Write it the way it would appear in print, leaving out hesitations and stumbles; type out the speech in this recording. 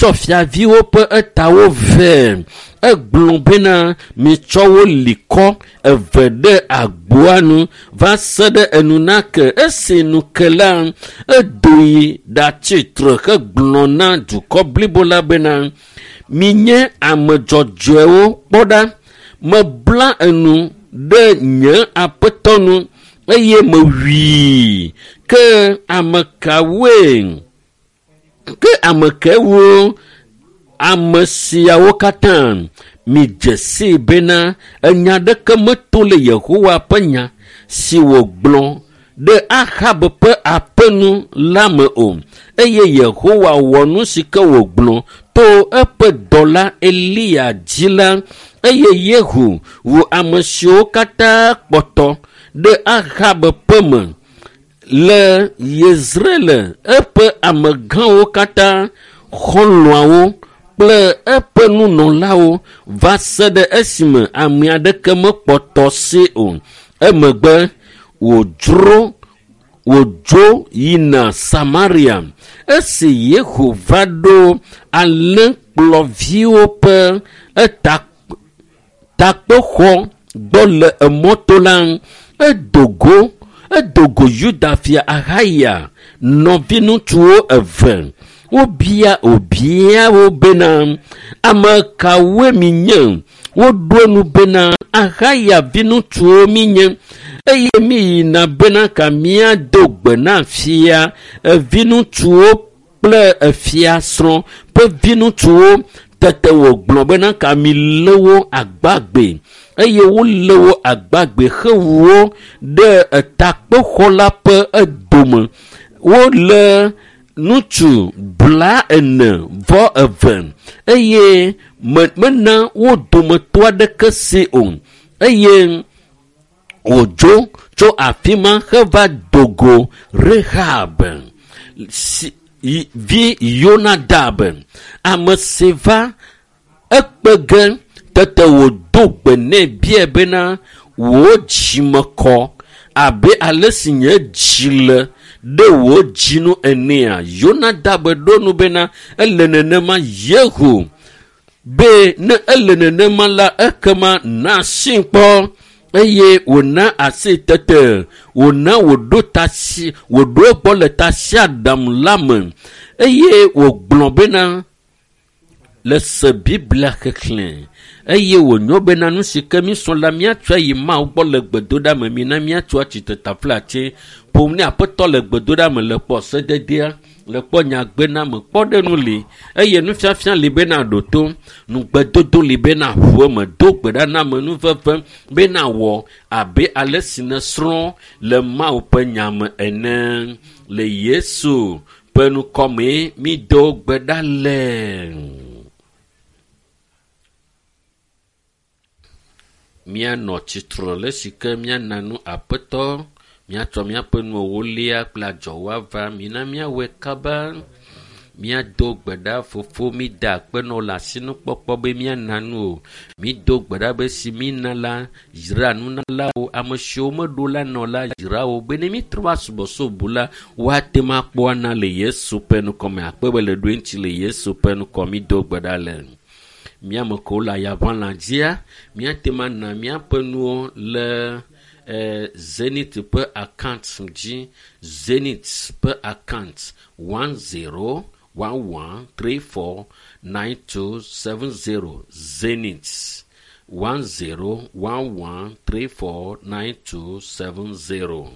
Wotsɔ fiaviwo ƒe etawo vɛ. Egblɔ bena mitsɔ wo li kɔ eve ɖe agboa nu va se ɖe enu nake. Esi nu ke la, edo yi ɖatsi tre hegblɔ na dukɔ blibo la bena, minye ame dzɔdzɔewo kpɔ ɖa. Mebla enu ɖe nye aƒetɔ nu eye mewui. Ke ame kawoe? Ke ame kewo ame siawo katã midze sii bena enya ɖeke meto le Yehowa ƒe nya si wògblɔ ɖe Ahab ƒe aƒe nu la me o. Eye Yehowa wɔ nu si ke wògblɔ to eƒe dɔla Eliya dzi la. Eye Yehu wu ame siwo katã kpɔtɔ ɖe Ahab ƒe me le Yezreel eƒe amegãwo katã, xɔlɔ̃awo kple eƒe nunɔlawo va se ɖe esime ame aɖeke mekpɔtɔ si o. Emegbe wòdzro wòdzo yina Samaria. Esi Yehu va ɖo alẽkplɔviwo ƒe eta takpexɔ gbɔ le emɔto la, edo go edo go Yuda fia Ahaya nɔviŋutsuwo eve. Wobia wòbia wo bena, ame kawoe minye? Woɖo enu bena, Ahaya viŋutsuwo minye eye miyina bena ka míado gbe na fia viŋutsuwo kple efia srɔ̃ ƒe viŋutsuwo. Tete wògblɔ bena ka milé wo agbagbe eye wolé wo agbagbe hewu wo ɖe etakpexɔ la ƒe edome. Wolé ŋutsu 45 eye mena wo dometɔ aɖeke si o. Eye wòdzo tso afi ma heva do go Rehab si vi Yonadab, ame si va ekpe ge. Tete wòdo gbe nɛ biae bena, wò dzime kɔ abe ale si nye dzi le ɖe wò dzi nu enea? Yonadab ɖo nu bena, ele nenema Yehu be ne ele nenema la, ekema na asi kpɔ. Eye wòna asi tete wòna wòɖo tasi wòɖo egbɔ le tasiaɖam la me eye wògblɔ bena le se Biblia xexlẽ eye wònyo bena nu si ke mísrɔ̃ la míatsɔe yi Mawu gbɔ le gbedoɖa me. Mina míatso atsitre taflatse ƒom ne aƒetɔ le gbedoɖa me le kpɔ sededea le kpɔ nyagbename kpɔɖeŋu li eye nufiafia li bena ɖo to nugbedodo li bena ʋu eme do gbe ɖa na ame nuveve bena wɔ abe ale si nèsrɔ̃ le Mawu ƒe nya me ene. Le Yesu ƒe ŋkɔmee mído gbe ɖa le. Míanɔ tsitre le si ke míana nu aƒetɔ míatsɔ míaƒe nu ewolia kple adzɔwo ava. Mina míawɔe kaba. Míado gbe ɖa fofo mída akpe nɔ le asinukpɔkpɔ be míana nu o. Mído gbe ɖa be si mína la yra nunalawo ame siwo meɖo la nɔ la yra wo be ne mítrɔ va subɔsubɔ la woate ŋu akpɔ ana le Yesu ƒe ŋkɔme. Akpe be le ɖoe ŋuti le Yesu ƒe ŋkɔ mído gbe ɖa le. Míame kewo le ayaʋalã dzia míate ŋu ana míaƒe nuwo le Zenith ƒe account dzi. Zenith ƒe account 1011349270. Zenith 1011349270.